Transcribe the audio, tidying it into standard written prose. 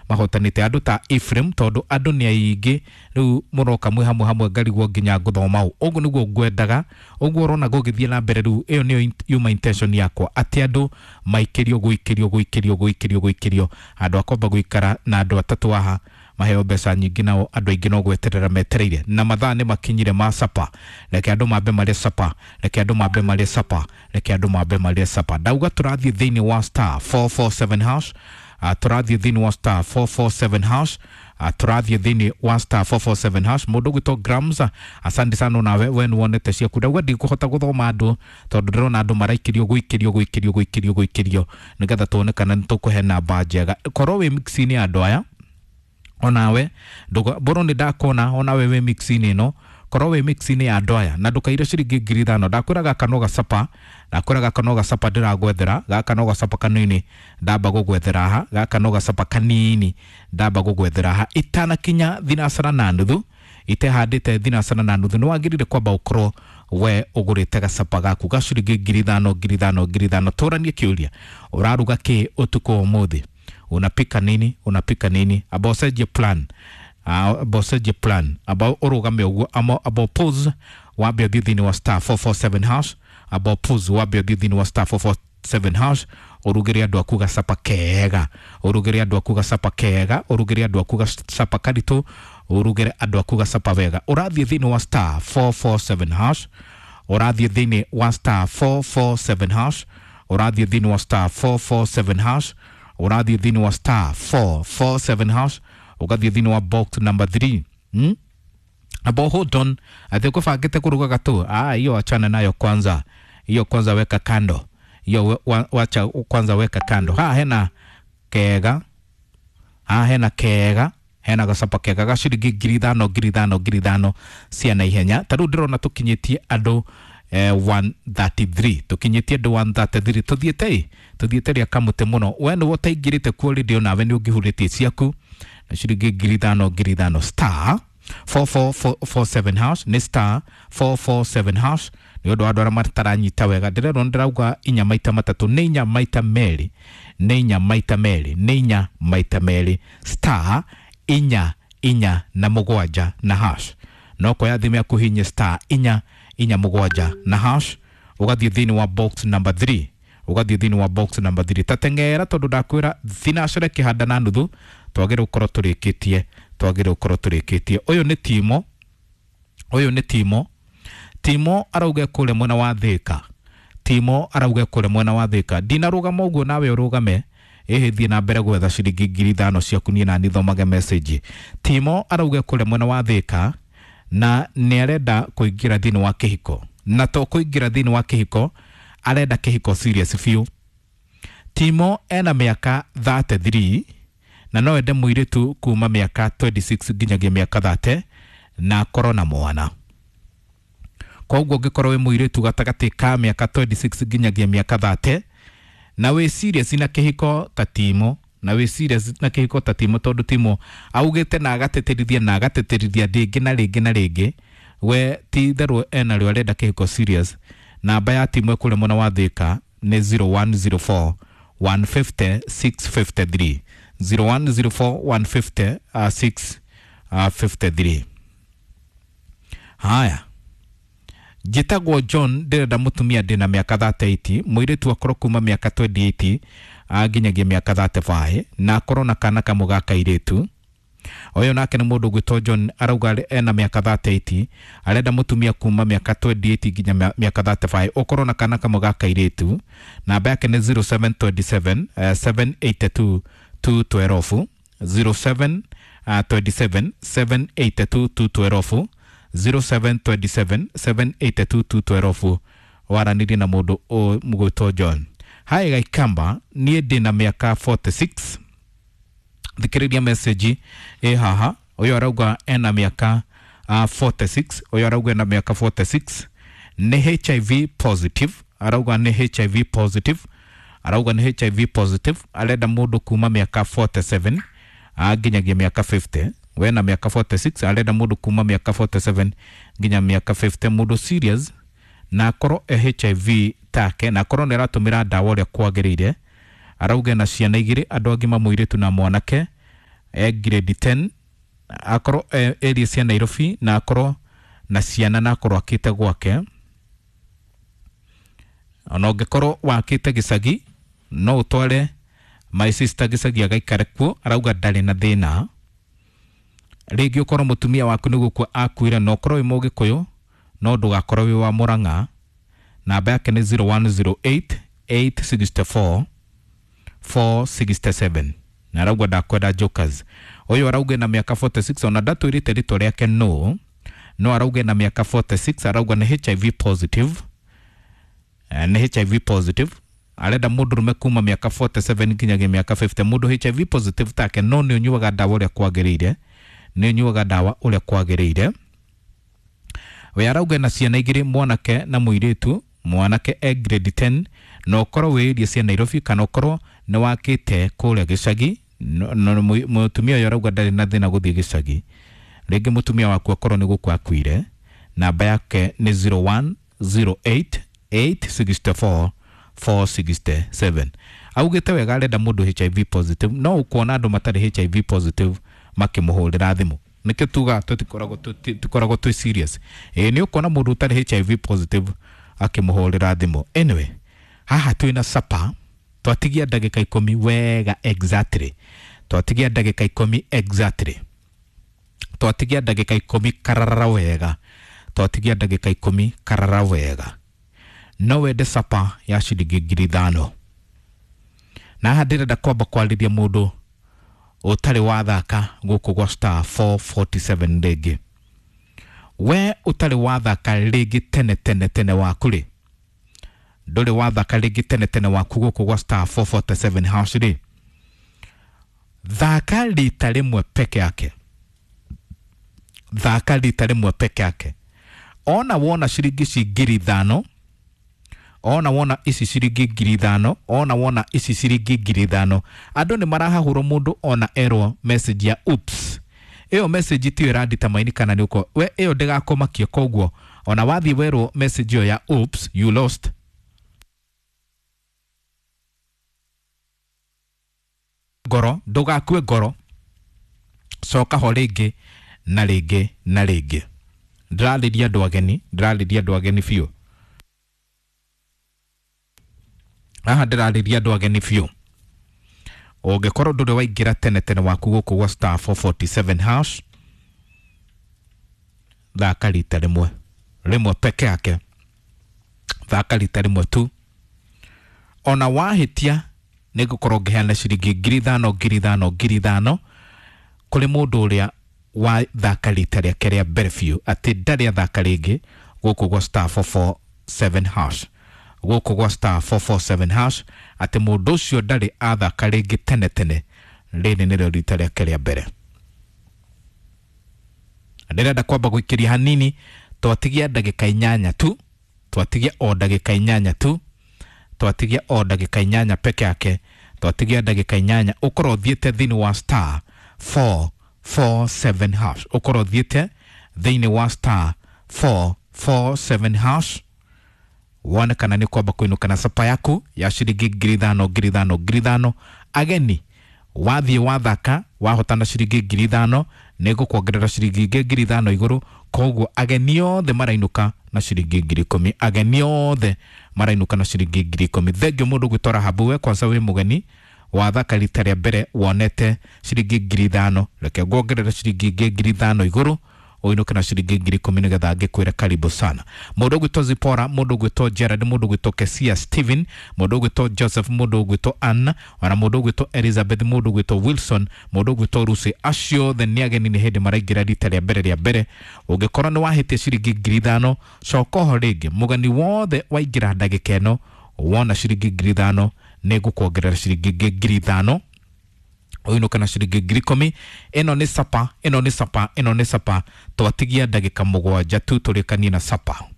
mahotanĩte, andũ ta Ephraim, tondũ andũ nĩ aingĩ rĩu mũroka mwĩ hamwe hamwe, ngarigwo nginya ngũthoma ũ. Ũguo nĩguo ngwendaga, ũguo ũrona gũgĩthiĩ na mbere rĩu, ĩyo nĩyo yuma intention yakwa, atĩ andũ maikĩrio gũikĩrio gũikĩrio gũikĩrio gũikĩrio handũ akomba gũikara na andũ atatũ haha maheo mbeca nyingĩ, nao andũ aingĩ no gweterera metereire, na mathaa nĩ makinyire ma sapa. Reke andũ mambe marĩe sapa, reke andũ mambe marĩe sapa, reke andũ mambe marĩe sapa. Ndauga tũrathiĩ thĩinĩ wa star 447 hash, tũrathiĩ thĩinĩ wa star 447 hash, tũrathiĩ thĩinĩ wa star 447 hash. Mũndũ ũgwĩtwo Grams, asante sana, nawe we nĩwonete ciaku. Ndauga ndikũhota gũthoma andũ tondũ ndĩrona andũ maraikĩrio gũikĩrio gũikĩrio gũikĩrio gũikĩrio, nĩgetha tuone kana nĩtũkũhe namba njega. Korwo wĩ mix-inĩ ya andũ aya onawe mbũrũ nĩ ndakona, onawe wĩ mix-inĩ ĩno, korwo wĩ mix-inĩ ya andũ aya na ndũkaire ciringi 5,000. Ndakwĩra gaka no gacapa, ndakwĩra gaka no gacapa ndĩragwethera, gaka no gacapa kanini ndamba gũgwethera haha, gaka no gacapa kanini ndamba gũgwethera haha itanakinya thinacara na nuthu, itehandĩte thinacara na nuthu. Nĩ wagĩrĩire kwamba ũkorwo we ũgũrĩte gacapa gaku ga ciringi 5,000, 5,000, 5,000. Tũranie kĩũria, ũraruga kĩ ũtukũ wa ũmũthĩ? Unapika nini? Unapika nini? Amba ũcenjie plan, amba ũcenjie plan, amba ũrũgame ũguo, amba pause wambe ũthiĩ thĩinĩ wa star 447 hash, amba pause wambe ũthiĩ thĩinĩ wa star 447 hash, ũrugĩre andũ aku gacapa kega, ũrugĩre andũ aku gacapa kega, ũrugĩre andũ aku gacapa karitũ, ũrugĩre andũ aku gacapa wega. Ũrathiĩ thĩinĩ wa star 447 hash, ũrathiĩ thĩinĩ wa star 447 hash, ũrathiĩ thĩinĩ wa star 447 hash, ũrathiĩ thĩinĩ wa star 447 hash, ũgathiĩ thĩinĩ wa box number 3. Abo hold on, atĩ ũkũbangĩte kũruga gatũ, ah, hiyo achana nayo kwanza, hiyo kwanza weka kando, hiyo wacha kwanza weka kando. Ha hena kega, ha hena kega, hena gacapa kega ga ciringi 5,000, 5,000, 5,000 cia na ihenya. Ta rĩu ndĩrona tũkinyĩtie andũ 133, tũkinyĩtie andũ 133, tũthiĩte ĩ tũthiĩte rĩa kamũtĩ mũno. We nĩwe ũtaingĩrĩte kuo rĩndĩ, onawe nĩ ũngĩhurĩtie ciaku na ciringi 5,000, 5,000. Star 4447 hash, nĩ star 447 hash. Nĩ ũndũ wa andũ arĩa mataranyita wega, ndĩrerwo ndĩrauga inya maita matatũ, nĩ inya maita merĩ, nĩ inya maita merĩ, nĩ inya maita merĩ, star inya inya na mũgwanja na hash. No koya thimũ yaku hinye star inya inya mũgwanja na hash, ũgathiĩ thĩinĩ wa box number 3, ũgathiĩ thĩinĩ wa box number 3. Tateng'era tondũ ndakwĩra thinacere kĩhanda na nuthu twagĩrĩire gũkorwo tũrĩkĩtie, twagĩrĩire gũkorwo tũrĩkĩtie. Ũyũ nĩ Timo, ũyũ nĩ Timo. Timo arauga kũrĩa mwena wa Thĩka, Timo arauga kũrĩa mwena wa Thĩka. Ndinarũgama ũguo nawe ũrũgame, ĩhĩ thiĩ na mbere gwetha ciringi 5,000 ciaku, niĩ nani thomage message. Timo arauga kũrĩa mwena wa Thĩka na nĩ arenda kũingĩra thĩinĩ wa kĩhiko, na to kũingĩra thĩinĩ wa kĩhiko, arenda kĩhiko serious biũ. Timo ena mĩaka 33 na no ende mũirĩtu kuma mĩaka 26 nginyagia mĩaka 30 na akorwo na mwana. Koguo ũngĩkorwo wĩ mũirĩtu gatagatĩ ka mĩaka 26 nginyagia mĩaka 30 na wĩ serious na kĩhiko ta Timo, na wĩ serious na kĩhiko ta Timo, tondũ Timo augĩte na agatĩtĩrithia na agatĩtĩrithia rĩngĩ na rĩngĩ na rĩngĩ, we ti itherũ ena rĩo arenda kĩhiko serious. Namba ya Timo ĩkũrĩa mwena wa Thĩka nĩ 0104 150 653, 0104 150 653. Haya, njĩtagwo John, ndĩrenda mũtumia ndĩna mĩaka 38, mũirĩtu akorwo kuma mĩaka 28 nginyagia mĩaka 35 na akorwo na kana kamwe ga kairĩtu. Ũyũ nake nĩ mũndũ ũgwĩtwo John, arauga ena mĩaka 38, arenda mũtumia kuma mĩaka 28 nginya mĩaka 35, ũkorwo na kana kamwe ga kairĩtu. Namba yake nĩ 0727 782 212, 07 27 782 212, 0727 782 212. Waranĩrie na mũndũ mũgwĩtwo John. Hai Gaikamba, niĩ ndĩna mĩaka 46. Thikĩrĩria message ĩ haha. Ũyũ arauga ena mĩaka 46, ũyũ arauga ena mĩaka 46, nĩ HIV positive, arauga nĩ HIV positive, arauga nĩ HIV positive, arenda mũndũ kuma mĩaka 47 nginyagia mĩaka 50. We na mĩaka 46, arenda mũndũ kuma mĩaka 47 nginya mĩaka 50, mũndũ serious na akorwo e HIV take na akorwo nĩ aratũmĩra ndawa ũrĩa kwagĩrĩire. Arauga na ciana igĩrĩ, andũ agima, mũirĩtu na mwanake. e grade 10, akorwo area cia Nairobi, na akorwo na ciana na akorwo akĩte gwake. Ona ũngĩkorwo wakĩte gĩcagi no ũtware my sister gĩcagi agaikare kuo, arauga ndarĩ na thĩna. Rĩngĩ ũkorwo mũtumia waku nĩ gũkua akuire, na ũkorwo wĩ mũgĩkũyũ no ndũgakorwo wĩ wa Mũrang'a. Namba yake nĩ 0108 864 467, na arauga ndakwenda jokers. Ũyũ arauga na mĩaka 46, ona ndatwĩrĩte rĩtwa rĩake no arauga na mĩaka 46, arauga nĩ HIV positive, nĩ HIV positive. Arenda mũndũrũme kuma mĩaka 47 nginyagia mĩaka 50, mũndũ HIV positive take, no nĩ ũnyuaga ndawa ũrĩa kwagĩrĩire, nĩ ũnyuaga ndawa ũrĩa kwagĩrĩire. We arauga na ciana igĩrĩ, mwanake na mũirĩtu. Mwanake e grade 10, na ũkorwo wĩ area cia Nairobi kana ũkorwo nĩ wakĩte kũrĩa gĩcagi. Mũtumia ũyũ arauga ndarĩ na thĩna gũthiĩ gĩcagi. Rĩngĩ mũtumia waku akorwo nĩ gũkua akuire, namba yake nĩ 0108 864 467. Augĩte wega arenda mũndũ HIV positive, no ũkuona andũ matarĩ HIV positive makĩmũhũrĩra thimũ. Nĩkĩo tugaga tũtikoragwo twĩ serious. Ĩĩ nĩ ũkuona mũndũ ũtarĩ HIV positive akĩmũhũrĩra thimũ. Anyway, haha twĩna sapa, twatigia ndagĩka 10 wega exactly, twatigia ndagĩka 10 exactly, twatigia ndagĩka 10 karara wega, twatigia ndagĩka 10 karara wega. No wende sapa ya ciringi 5,000. Na haha ndĩrenda kwamba kwarĩria mũndũ ũtarĩ wathaka gũkũ gwa star 447 rĩngĩ. We ũtarĩ wathaka rĩngĩ tene tene tene waku rĩ, ndũrĩ wathaka rĩngĩ tene tene waku gũkũ gwa star 447 hash rĩ, thaka rita rĩmwe peke yake, thaka rita rĩmwe peke yake. Ona wona ciringi ici 5,000, ona wona ici ciringi 5,000, ona wona ici ciringi 5,000, andũ nĩ marahahũrwo mũndũ ona erwo message ya oops. Ĩyo message tiyo ĩranditamini kana nĩ ũko we, ĩyo ndĩgakũmakie. Koguo ona wathiĩ werwo message ĩyo ya oops you lost, ngoro ndũgakue ngoro, coka ho rĩngĩ na rĩngĩ na rĩngĩ. Ndĩrarĩria andũ ageni, ndĩrarĩria andũ ageni biũ haha, ndĩrarĩria andũ ageni biũ. Ũngĩkorwo ndũrĩ waingĩra tene tene waku gũkũ gwa star 447 hash, thaka rita rĩmwe rĩmwe peke yake, thaka rita rĩmwe tu. Ona wahĩtia nĩ ngũkorwo ngĩheana ciringi 5,000 5,000 5,000 kũrĩ mũndũ ũrĩa wathaka rita rĩake rĩa mbere biũ, atĩ ndarĩ athaka rĩngĩ gũkũ gwa star 447 hash, gũkũ gwa star 447 hash, atĩ mũndũ ũcio ndarĩ athaka rĩngĩ tene tene, rĩrĩ nĩrĩo rita rĩake rĩa mbere. Ndĩrenda kwamba gũikĩria hanini, twatigia ndagĩka 8 tu, twatigia o ndagĩka 8 tu, twatigia o ndagĩka 8 peke yake, twatigia ndagĩka 8 ũkorwo ũthiĩte thĩinĩ wa star 447 hash, ũkorwo ũthiĩte thĩinĩ wa star 447 hash, wone kana nĩ kwamba kũinũka na sapa yaku ya ciringi 5,000 5,000 5,000. Ageni wathiĩ wathaka wahotana ciringi 5,000, nĩ ngũkuongerera ciringi ingĩ 5,000 igũrũ. Koguo ageni othe marainũka na ciringi 10,000, ageni othe marainũka na ciringi 10,000. Thengio mũndũ gwĩtwo Rahabu, we kwanza wĩ mũgeni wathaka rita rĩa mbere wonete ciringi 5,000, reke nguongerera ciringi ingĩ 5,000 igũrũ ũinũke na ciringi 10,000 nĩgetha ngĩkwĩre karibu sana. Mũndũ ũgwĩtwo Zipora, mũndũ ũgwĩtwo Gerard, mũndũ ũgwĩtwo Kesia Steven, mũndũ ũgwĩtwo Joseph, mũndũ ũgwĩtwo Anna, ona mũndũ ũgwĩtwo Elizabeth, mũndũ ũgwĩtwo Wilson, mũndũ ũgwĩtwo Lucy, acio othe nĩ ageni nĩ hĩndĩ maraingĩra rita rĩa mbere rĩa mbere. Ũngĩkorwo nĩ wahĩtia ciringi 5,000, coka oho rĩngĩ. Mũgeni wothe waingĩra ndagĩka ĩno wona ciringi 5,000, nĩ ngũkuongerera ciringi ingĩ 5,000 ũinũke na ciringi 10,000. Ĩno nĩ sapa, ĩno nĩ sapa, ĩno nĩ sapa. Twatigia ndagĩka 7 tu tũrĩkanie na sapa.